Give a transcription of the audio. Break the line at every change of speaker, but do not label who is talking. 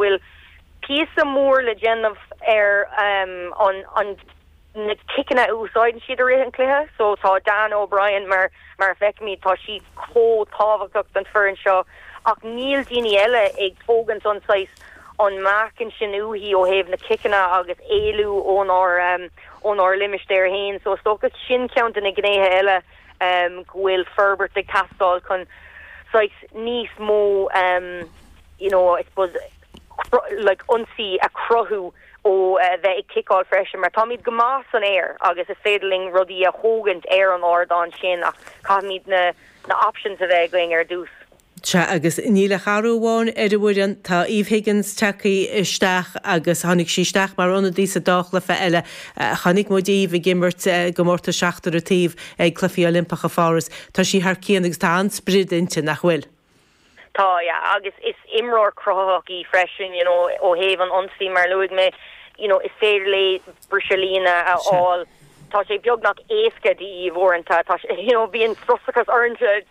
bhfuil píosa mór le déanamh ar an an na ciceanna a úsáideann siad i rith an chluiche. So tá Dannah O'Brien mar mar a feicimid tá sí chomh tábhachtach don foireann seo ach níl daoine eile ag tógaint an saghas an meáchan sin uaithi ó thaobh na ciceanna agus éalú ónár ónár limistéar féin. So is dócha sin ceann de na gnéithe eile go bhfuil forbairt ag teastáil chun saghas níos mó you know I suppose like ionsaí a chruthú ó bheith ag ciceáil freisin mar táimid go maith san aer agus is féidir linn rudaí a thógaint ar an ardán sin ach caithfimid na na options a bheith againn ar dtús.
Sea, agus níl ach athrú amháin ar an bhfoireann. Tá Eve Higgins tagtha isteach agus tháinig sí isteach mar ionadaí sa dá chluiche eile. Chonaic muid Eve ag imirt i gcomórtas seachtar an taobh ag Cluichí Oilimpeacha Pháras. Tá sí thar cionn agus tá an-sprid inti, nach bhfuil?
Tá, yeah, agus is imreoir cruthaitheach í freisin, you know, ó thaobh an ionsaí, mar a luaigh mé, you know, is féidir léi briseadh líne a fháil. Tá sé beagnach éasca di Eve uaireanta, tá sé, you know, bíonn frustrachas ormsa.